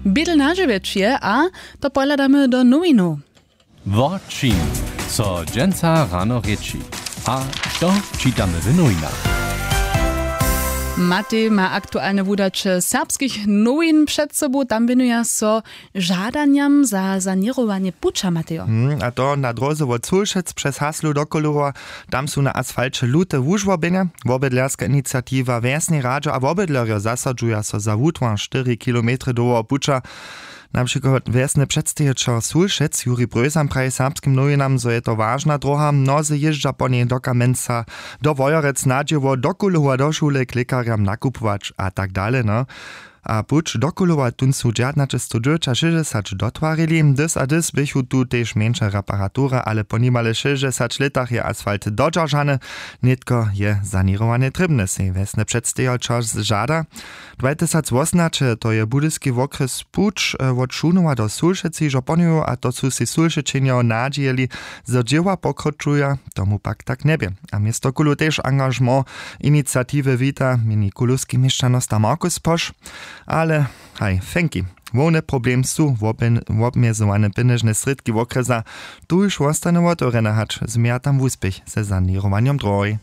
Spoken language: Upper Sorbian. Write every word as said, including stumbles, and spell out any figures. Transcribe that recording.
Bědl na dźewjeć je a to pohladamy do nowinow. Wo čim so dźensa rano rěči a što čitamy w nowinach? Matej ma aktualne wudaće serbskich nowin před sobu, tam wěnuja so žadanjam za saněrowanje puća, Matejo. Hmm, a to na dróze wot Sulšec přez Haslu do Kólowa. Tam su na asfalće lute wužłobjenja. Wobydlerska iniciatiwa, wjesnej radźo a wobydlerjo zasadźuja so za wutwar štyri kilometry dołhoweho puća. Na přikład wjesny předstejićel Sulšec Juri Brösam praji serbskim nowinam, zo je to wažna dróha, mnozy jězdźa po njej do Kamenca, do Wojerec, na dźěło, do Kólowa, do šule, k lěkarjam nakupować a tak dale, no. A puć do Kólowa, tón su dźadnaćestowdźewjećašěsćdźesać dotwarili, dys a dys běchu tu tež mjeńše reparatury, ale po nimale šěsćdźesać lětach je asfalt dodźeržany. Nětko je saněrowanje trěbne, sej wjesny předstejićel žada. Dwatysacwosomnaće, to je budyski wokrjes puć, e, wot Šunowa do Sulšecy hižo ponowił, a to su sej Sulšećenjo nadźijeli, zo dźěła pokročuja, tomu pak tak njebě. A město Kólow tež angažement iniciatiwy wita, měni kólowski měšćanosta Markus Poš. Ale haj, fenki, hłowny problem su wobmjezowane pjenježne srědki wokrjesa. Tuž wostanu wotewrjene, hač změja tam wuspěch ze saněrowanjom dróhoj.